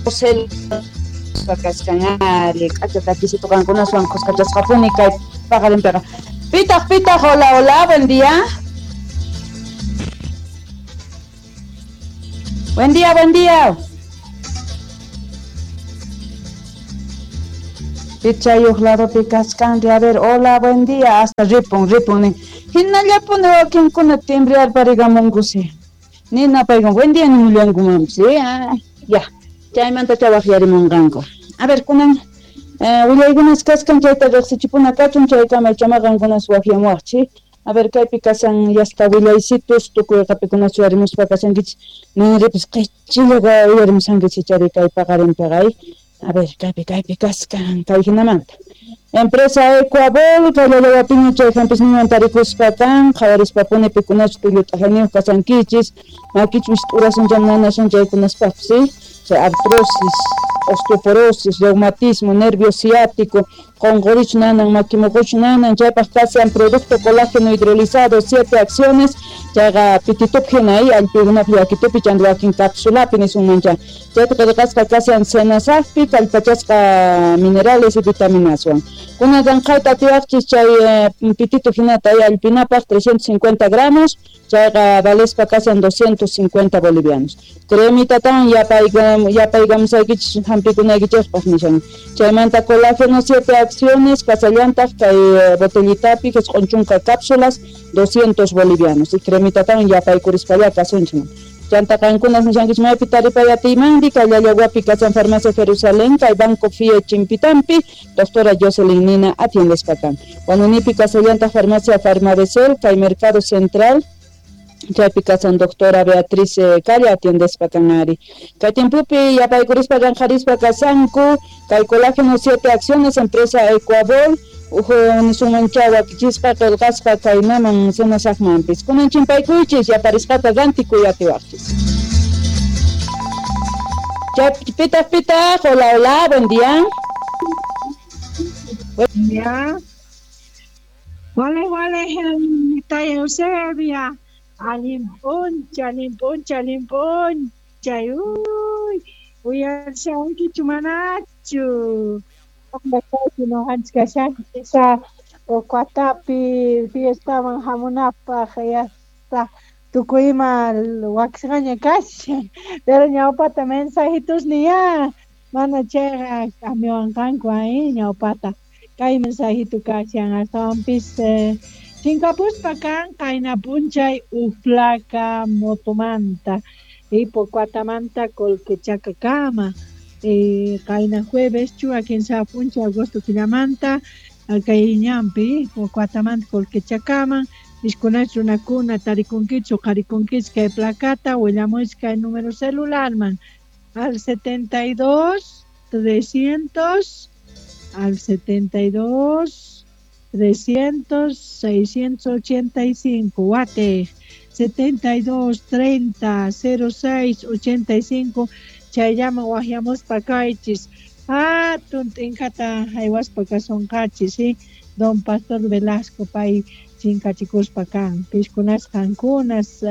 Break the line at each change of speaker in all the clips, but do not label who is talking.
Kashan ari k'acha takisito qankunaswan khuskachasqapuni kay paqarinpiqa. Pitaq pitaq, hola hola, buen día. Buen día, buen día. Pichayuq ladopi kaskanri, a ver, hola, buen día, hasta ripun, ripun nin. Hinallapuni wakinkuna timbriar parigamunkusi. Nina paykan, buen día nimullankumanpis, ya. Chaymanta chawaqyarimunqanku. A ver, kunan willaykunas kaskan chayta riqsichipuna kachun chaykama chamaqankunas waqyamuwaqchik. A ver, kaypi kasan yasta willaysitus tukuy qapikunas uyarimuspa kasankichik. Ninripis qichillaqa uyarimusankichik chari kay paqarinpiqa. A ver, kaypi kaypi kaskan kay hinamanta. Empresa Ecuabol, kay chay hampisninwan tarikuspa kan, qhawarispapuni pikunachu tullu t'ajayniyuq kasankichis, makichus t'urasun nanasun chaykunaspaqpis, ¿sí? Chay artrosis, osteoporosis, reumatismo, nervio ciático, qonqorich nanan, makimuquch nanan, chaypaq kasan producto colágeno hidrolizado, 7 acciones, chayqa pititup hina allpikunapi yakitupi chanta wakin cápsulapi nisunmancha. Chayta qillqasqa kasan senasaqpi, kallpachasqa minerales y vitaminaswan. Kunan ranqayta atiwaqchis chay pititu hinata allpinapaq 350 gramos, chayqa valespa kasan 250 bolivianos. Cremitatawan yapaykamusaykichis hampikunaykichikpaq nishan. Chaymanta colágeno 7 acciones, kasallantaq kay botellitapi qisq'un chunka cápsulas 200 bolivianos. Y cremitatawan yapaykurispallaqa kasunchik. Chanta qankunas nishankichik maypi taripay atiymanri kay Llallawapi kasan Farmacia Jerusalén, kay Banco FIE Chimpitampi, doctora Jocelyn Nina atiendespa kan. Huanunipi kasallantaq Farmacia Farmabesel, kay Mercado Central, chaypi kasan doctora Beatriz Calle atiendespa kan ari. Kay tiempopi yapaykurispa ranqarispa kasanku, kay colágeno 7 acciones, empresa Ecuabol, uhu nisunmancha wakichispa qillqasqa kaynaman senasaqmanpis. Kunan chimpaykuychis yaparisqata rantikuy atiwaqchis. Pitaq pitaq, hola hola, buen día.
Buen día. Wale wale, taya Eusebia. Alimpuncha, alimpuncha, alimpuncha. Uy, uyarshankichu manachu. Esa Pocuatapi fiestaman hamunapaq yasta tukuyma wakisqaña kashan, pero ñawpata mensajitos niya mana chayqa k'amiwanqanku ahí ñawpata kay mensajito kashan astawanpis chinkapuspa kan qayna p'unchay uj placa motomanta y Pocuatamanta Colquechacakama. Qayna jueves chuwa kinsa p'unchay agosto killamanta kay ñanpi Pocuatamanta Colquechakaman iskunach runakuna tarikunkichik uqharikunkichik kay placata willamuychik kay número celularman al 72 300 al 72 300 685 wate 72 30 06 85 chayllaman waqyamuspa kaychis hatun t'inkata haywaspa kasunqachis, ¿sí? Don Pastor Velasco pay chinkachikuspa kan piskunas qankunas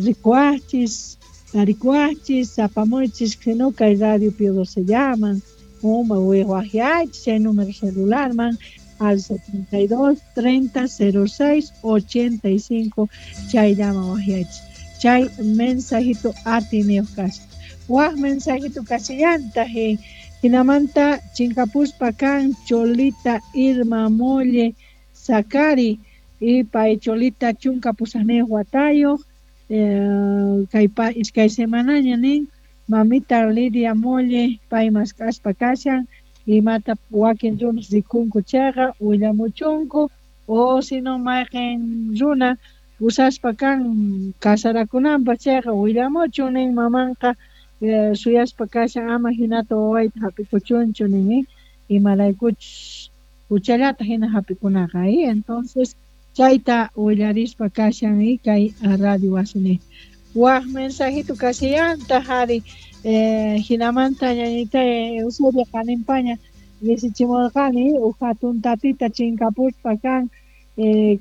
rikuwaqchis tarikuwaqchis apamuychis sino kay radio Pío se llaman uma waqyaychis chay número celularman al 72 30 06 85 chayllaman waqyaychis chay mensajito atiniyuq kashan. Waq mensajito kasillantaq hinamanta chinkapuspa kan Cholita Irma Molle Sakari y pay Cholita chunka pusaqniyuq watayuq kay iskay semanaña nin mamita Lidia Molle pay mask'aspa kashan imata wakin runas rikunku chayqa willamuchunku o sino mayqin runa usaspa kan kasarakunanpaq chayqa willamuchun nin mamanqa suyaspa kashan ama hinata wawayta hap'ikuchunchu nin imaraykuchus huchallata hina hap'ikunaqa entonces chayta willarispa kashan kay radio wasini. Waq mensajito kasillantaq ari hinamanta ñañita Eusebia qaninpaña risichimurqani uj hatun tatita chinkapuspa kan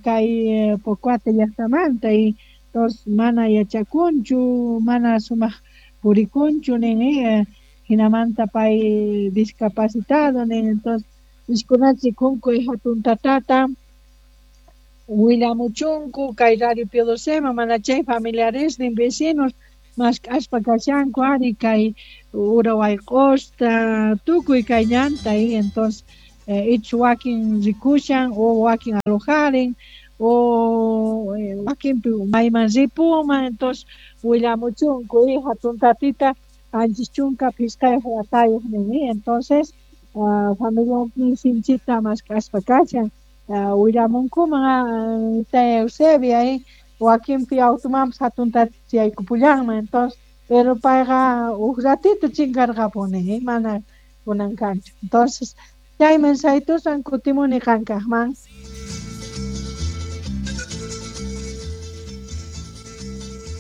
kay Pocuata llaqtamanta y entonces mana yachakunchu mana sumaq purikunchu nin Hinamanta pay discapacitado nin, entonces iskunachi kunku hatun tatata willamuchunku kay Radio Pío XII mana chay familiares nin vecinos mask'aspa kashanku ari kay ura wayq'usta tukuy kay ñanta y entonces ichu wakin rikushan o wakin alojarin o wakinpi mayman ripuman, entonces willamuchunku y hatun tatita anchis chunka phisqayuq watayuq nin, entonces familiarnin sinchita mask'aspa kashan willamunkuman taya Eusebia wakinpi automanpas hatun tatita yaykupullanman, entonces pero payqa huk ratito chinkarqapuni mana kunan kanchu, entonces chay mensajitusan kutimuni qankaqman.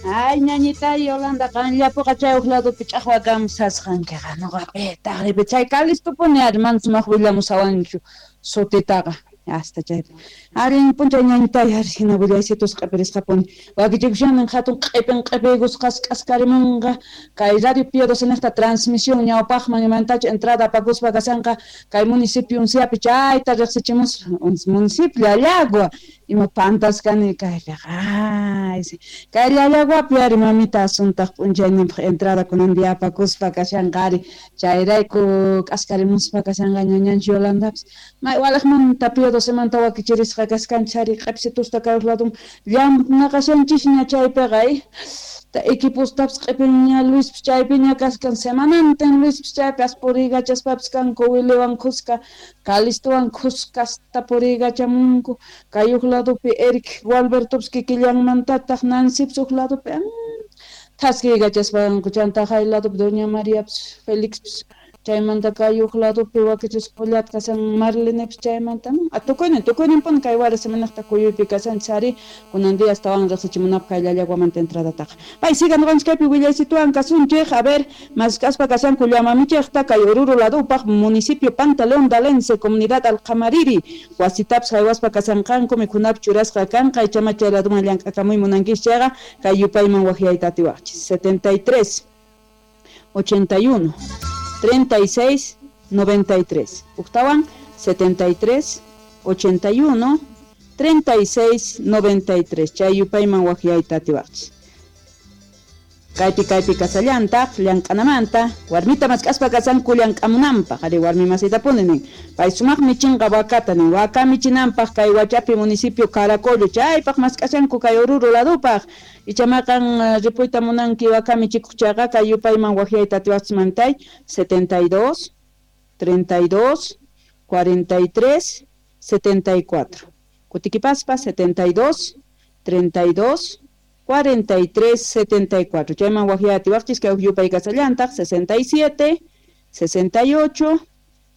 Ay, ñañita Yolanda, qanllapuqa chay huk ladopi ch'aqwa kamsasqankiqa noqapi taqripi chay Calistopuni ari mana sumaq willamusawanchu sutitaqa hasta chaypi. Arin p'unchay ñañitay ari hina willaysitus q'ipirisqapuni wakichikushanin hatun q'ipin q'ipiykusqas k'askarimunqa kay Radio Pío XII niqta transmisión ñawpaqman imantachu entrada apakuspa kashanqa kay municipio unciapi chayta riqsichimus municipio Llallagua ima pantaskani kaypiqa ay kay Llallaguapi ari mamita asuntaq p'unchayninpaq entrada kunan día apakuspa kashanqa ari chayrayku k'askarimuspa kashanqa ñañanchik Yolandapis may walaqmanta Pío XII wakichirisqa kaskanchik ari q'ipsitusta kay ladun llamnaqashanchisña chaypiqa equipostapis q'ipinña Luispis chaypiña kaskan semanantin Luispis chaypi as puriykachaspapis kanku Wiliwan khuska Calistowan khuskasta puriykachamunku kay huk ladopi Eric Gualbertopis kikillanmantataq Nancypis huk ladopi thaskiykachaspanku chanta hay ladopi Doña Mariapis Felixpis chaymanta kay huk ladopi wakichisqallata kashan Marlenepis chaymanta tukuyninpuni kay wara semanaqta kuyuypi kashanchis ari kunan día astawan riqsichimunapaq kay Llallaguamanta entradataqa pay siga nuqanchik kaypi willaysituwan kasunchik a ver mask'aspa kashanku llamamichikta kay Oruro ladupaq municipio Pantaleón Dalense comunidad Alqamariri wasitapis haywaspa kashanqanku mikhunapi churasqa kanqa ichama chay laduman llank'akamuy munankichis chayqa kay yupayman waqyayta atiwaqchis 73 81 36 93 Uktawan 73 81 36 93 chay yupayman waqyayta atiwaqchis kaypi kaypi kasallantaq llank'anamanta warmita mask'aspa kasanku llank'amunanpaq ari warmi masitapuni nin pay sumaq michinqa wakata nin waka michinanpaq kay Huachapi municipio Caracollo chaypaq mask'ashanku kay Oruro ladupaq ichamaqan ripuyta munanki waka michikuq chayqa kay yupayman waqyayta atiwaqchis mamtay 72 32 43 74 kutikipaspa 72 32 43 74 chayman waqyay atiwaqchis kay yupay kasallantaq 67 68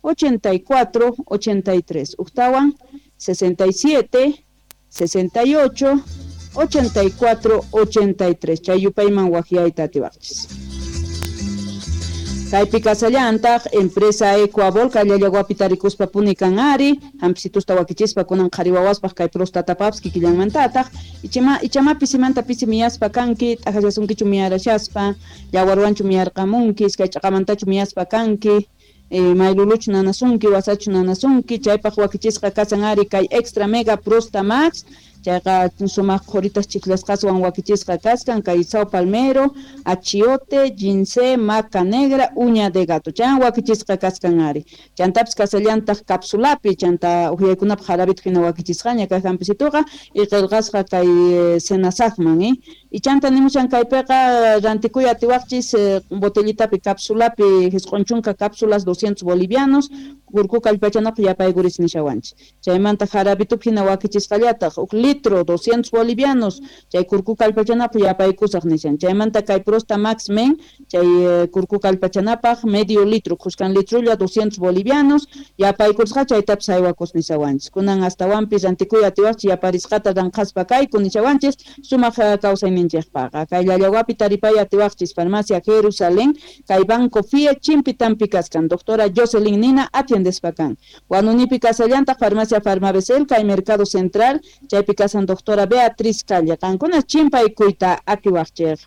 84 83 uktawan 67 68 84 83 chay yupayman waqyayta atiwaqchis. Kaypi kasallantaq empresa Ecuabol kay Llallaguapi tarikuspa puni kan ari hamp'isitusta wakichispa kunan qhari wawaspaq kay prostatapapis kikillanmantataq ichama pisimanta pisi miyaspa kanki t'ajallasunkichu miyarashaspa yawarwanchu miyarqamunki iskay ch'aqamantachu miyaspa kanki mayluluchu nanasunki wasachu nanasunki chaypaq wakichisqa kasan ari kay Extra Mega Prosta Max chayqa sumaq qhuritas chiklasqaswan wakichisqa kaskan kay sao palmero, achiote, ginseng, maca negra, uña de gato chan wakichisqa kaskan ari chantapis kasallantaq capsulapi chanta uhyaykunapaq jarabito hina wakichisqaña kay hampisituqa y qillqasqa kay senasaqman y chanta nimushan kaypiqa rantikuy atiwaqchis botellitapi capsulapi jisq'un chunka cápsulas 200 bolivianos kurku kallpachanapaq yapaykuris nishawanchik chaymanta jarabitupi hina wakichisqallataq huk litro 200 bolivianos chay kurku kallpachanapaq yapaykusaq nishan chaymanta kay Prosta Max Men chay kurku kallpachanapaq medio litro khuskan litrulla 200 bolivianos yapaykusqa chaytapis haywakus nishawanchik kunan astawanpis rantikuy atiwaqchik yaparisqata ranqaspa kayku nishawanchik sumaq kawsayninchikpaqa kay Llallaguapi taripay atiwaqchis farmacia Jerusalén kay Banco FIE Chimpitampi kaskan doctora Jocelyn Nina atiendespa kan Huanunipi kasallantaq farmacia Farmabesel kay Mercado Central chaypi kasan doctora Beatriz Calle qankuna chimpaykuyta atiwaqchik.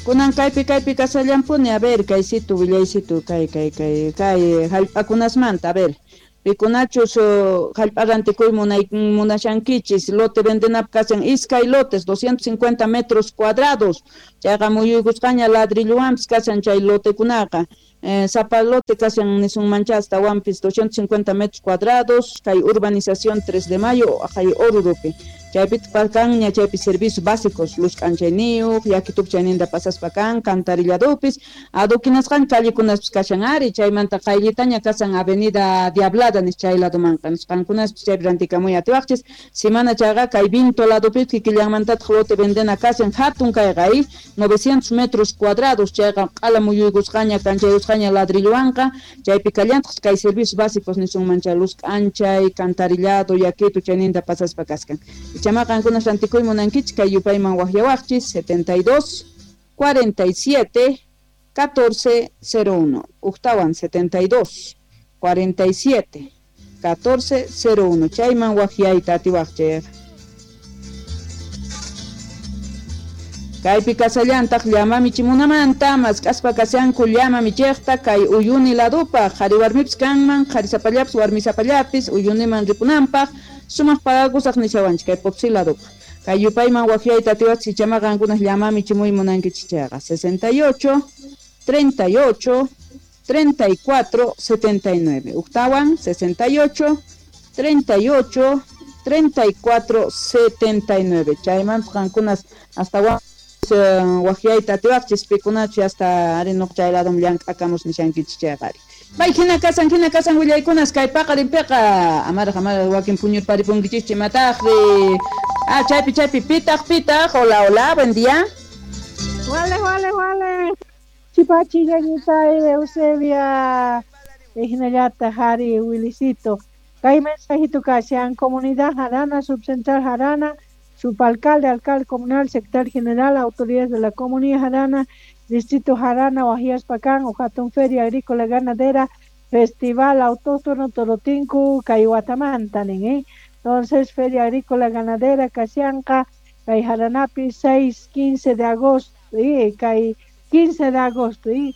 Kunan kaypi kaypi kasallampuni, a ver, kaysitu willaysitu kay kay kay kay hallp'akunasmanta, a ver. Pikunachus hallp'a rantikuy munashankichis, lote vendenap kasan iskay lotes, 250 metros cuadrados, chayqa muyuykusqaña ladrillowanpis kasan chay lotekunaqa. Sapa lote kasan nisunmancha astawanpis 250 metros cuadrados, kay urbanización 3 de Mayo, kay Oruropi. Chaypitaq kanña chaypi servicios básicos, luz k'anchayniyuq, yakitup chayninta pasaspa kan, cantarilladupis, adoquinasqan callekunaspis kashan ari, chaymanta qayllitaña kasan avenida Diablada nis chay ladomanqa, nisqankunaspis chaypi rantikamuy atiwaqchis, simana chayqa kay Vinto ladopis kikillanmantataq lote vendena kasan hatun kayqa, 900 metros cuadrados, chayqa q'ala muyuykusqaña kanchayusqaña ladrillowanqa, chaypi kallantaq kay servicios básicos nisunman chay luz k'anchay, cantarillado, yakitu chayninta pasaspa kaskan. Chama qankunas rantikuy munankichik kay yupayman waqyawaqchis 72 47 14 01, uktawan 72 47 14 01, chayman waqyayta atiwaqchik. Kaypi kasallantaq llama michimunamanta mask'aspa kashanku llama michiqta kay Uyuni ladupaq, qhari warmipis kanman, qhari sapallapis warmi sapallapis Uyuniman ripunanpaq sumaq pagakusaq nishawanchik kay Potosí ladupaq. Kay yupayman waqyayta atiwaqchik chama qankunaq llama michimuy munankichik chayqa 68 38 34 79, uktawan 68 38 34 79, chaymanta qankunas hasta waqyayta atiwaqchis pikunachu hasta ari nuq chay ladum llank'akamus nishankichik chayqa ari. May hina kasan willaykunas kay paqarinpiqa amaraq amaraq wakin puñurparipunkichikchu imataqri. Ah, chaypi chaypi pitaq pitaq, hola hola, buen día.
Wale wale wale. Chipachi ñañita Eusebia hinallata Jari Wilisito. Kay mensajito kashan comunidad Jarana, subcentral Jarana, subalcalde, alcalde comunal, secretario general, autoridades de la comunidad Jarana, distrito Jarana, Huajiaspacán, Ojatón Feria Agrícola Ganadera, Festival Autóctono Torotinku, Cayhuatamanta, ¿eh? Entonces, Feria Agrícola Ganadera, Casianca, Cay Jaranapi, 6, 15 de agosto, ¿eh? Cay 15 de agosto, ¿eh?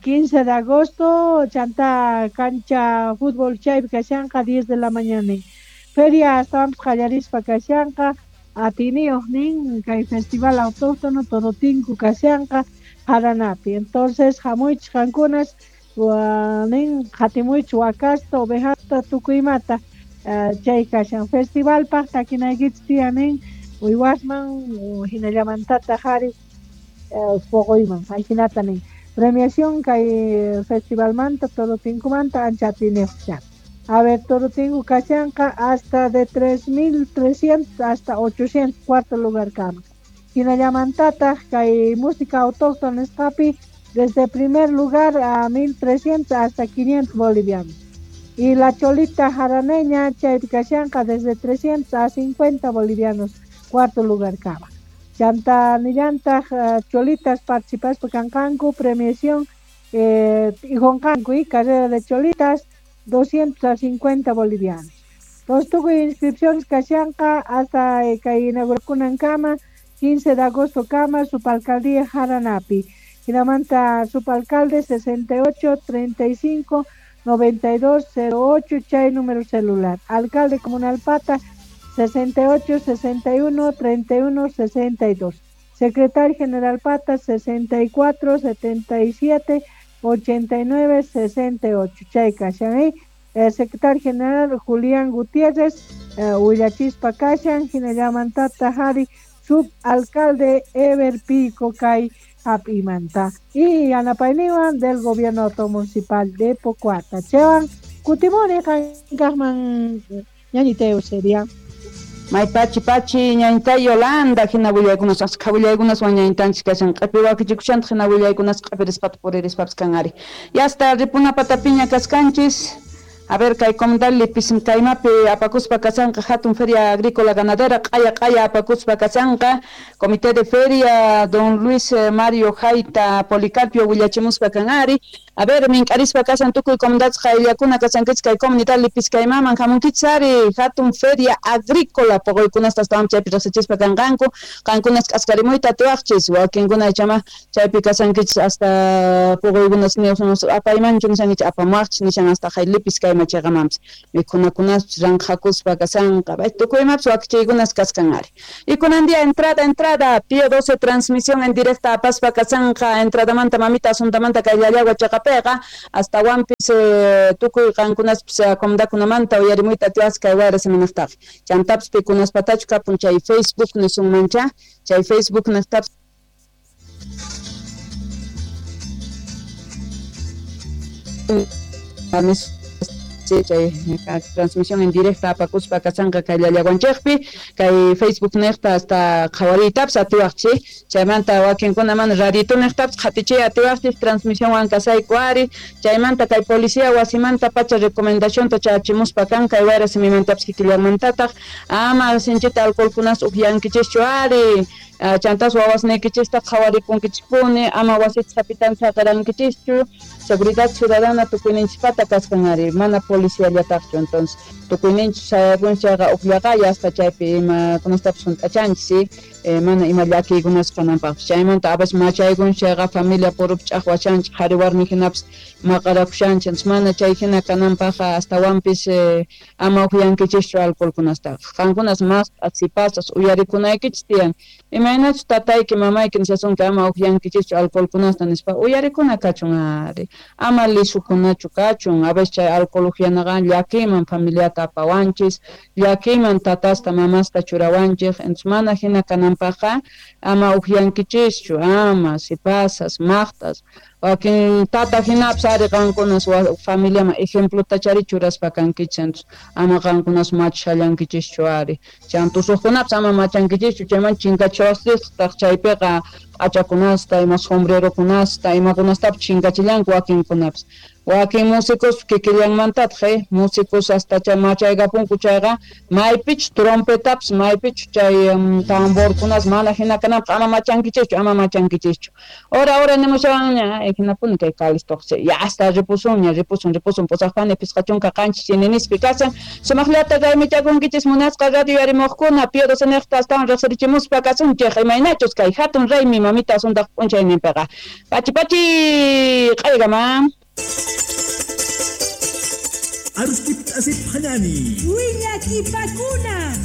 15 de agosto, Chanta Cancha Fútbol Chay, Casianca, 10 de la mañana. Feria hasta Jallarispa, Casianca, Atineo, nin, kay Festival Autóctono Torotinku, Casianca, Jaranapi. Entonces, jamuich jankunas, nin, jatimuich wakasta, ovejasta, tukuymata, chay kashan festival paq takinaykichik tiyan nin, uywasman, hinallamantata jari, poquyman, ajinata nin. Premiación kay festivalmanta, Torotinkumanta, ancha atineo chan. A ver, Torotinku kashanqa hasta de 3.300 hasta 800, cuarto lugar kama. Hinallamantataq kay música autóctona nisqapi desde primer lugar a 1.300 hasta 500 bolivianos. Y la cholita jaraneña chaypi kashanqa desde 300 a 50 bolivianos, cuarto lugar kama. Chanta nillantaq cholitas participaspa kanqanku premiación ijonqanku y carrera de cholitas 200 a 50 bolivianos. Entonces tukuy inscripciones kashanqa hasta kay inaugurakunan kama 15 de agosto kama subalcaldía Jaranapi. Hinamanta subalcalde 68 35 92 08 chay número celular. Alcalde comunal Pata 68 61 31 62. Secretario general Pata 64 77 89 68. Chay kashan. Secretario general Julián Gutiérrez, Huillachispa kashan, hinallamantata Jari, subalcalde Ever Pico kay Apimanta. Y Yanapayniwan del gobierno municipal de Pocoata. Chewan, kutimuni kankajman ñañita Eusebia.
May pachi pachi ñañita Yolanda, hina willaykunas asqa willaykunaswan ñañitanchik kashan, q'api wakichikushantaq hina willaykunas q'apirisqata puririspapis kan ari. Ya hasta ripuna patapiña kaskanchis. A ver, kay comunidad Lipiskaymapi apakuspa kashanqa hatun feria agrícola ganadera q'aya q'aya apakuspa kashanqa comité de feria don Luis Mario Jaita Policarpio willachimuspa kan ari. A ver, mink'arispa kashan tukuy comunidades qayllakuna kashankichis kay comunidad Lipiskaymaman hamunkichis ari hatun feria agrícola poqoykunasta astawan chaypi riqsichispa kanqanku qankunas k'askarimuyta atiwaqchis wakinkuna ichama chaypi kashankichis hasta poqoykunas apaymanchu nishankichis apamuwaqchis nishan hasta hay Lipiskayma chayqamanpis mikhunakunaspis ranqhakuspa kashanqa tukuymapis wakichiykunas kaskan ari. Y kunan día entrada Pío 12 transmisión en directa apaspa kashanqa entradamanta mamita asuntamanta kay Llallagua chaqapiqa astawanpis tukuy qankunaspis comunidadkunamanta uyarimuyta atiwaqchis kay wayra siminaqtaqa chantapis pikunaspatachu kapun chay Facebook nisunmancha chay Facebook niqtapis chay transmisión en directa apakuspa kashanqa kay Llallaguanchikpi kay Facebook niqta hasta qhawariytapis atiwaqchis chaymanta wakinkuna mana radito niqtapis qhatichiy atiwaqchis transmisionwan kasayku ari chaymanta kay policía wasimanta pacha recomendacionta chachimuspa kan kay wayra simimantapis kikillanmantataq ama sinchita alcoholkunas upyankichischu ari chantas wawasniykichista qhawarikunkichispuni ama wasita sapitan saqirankichischu seguridad ciudadana tukuyninchispata kaskan ari mana policiallataqchu entonces tukuyninchis sayakunchis chayqa upllaqaya hasta chaypi imakunastapis hunt'achanchis mana ima llakiykunas kananpaqpis chaymanta a veces machaykunchis chayqa familia purupi ch'aqwachanchis qhari warmi hinapis maqarakushanchis entonces mana chay hina kananpaqqa astawanpis ama upyankichischu alcoholkunastaqa qankunas mas sipasas uyarikunaykichis tiyan imaynachus tatayki mamayki nishasunki ama upyankichischu alcoholkunasta nispa uyarikuna kachun ari ama lisukunachu kachun a veces chay alcohol upyanaqa llakiyman familiata apawanchis llakiyman tatasta mamasta churawanchis entonces mana hina kananpaqqa ama upyankichischu ama sipasas maqtas wakin tata hinapis ari qankunas familiaman ejemplota chari churaspa kankichis entonces ama qankunas machallankichishchu ari chantusuqkunapis ama machankichischu chayman chinkachawastaq chaypiqa p'achakunasta ima sombrerokunasta imakunastapis chinkachillanku wakinkunapis wakin músicos kikillanmantataq músicos hasta chay machaykapunku chayqa maypichu trompetapis maypichu chay tamborkunas mana hina kananpaq ama machankichischu ama machankichischu hora nimushawanña hinapuni kay kalistoq ya hasta ripusunña ripusun pusaqpani 57 chininispi kasan sumaqllata raymichakunkichis munasqa radio yarimuqkuna Pío 12 niqta astawan riqsirichimuspa kasunchik imaynachus kay hatun raymi mamita asuntaq p'unchayninpiqa pachi pachi q'aygama.
Arustip asip hanani.
Willakipakuna.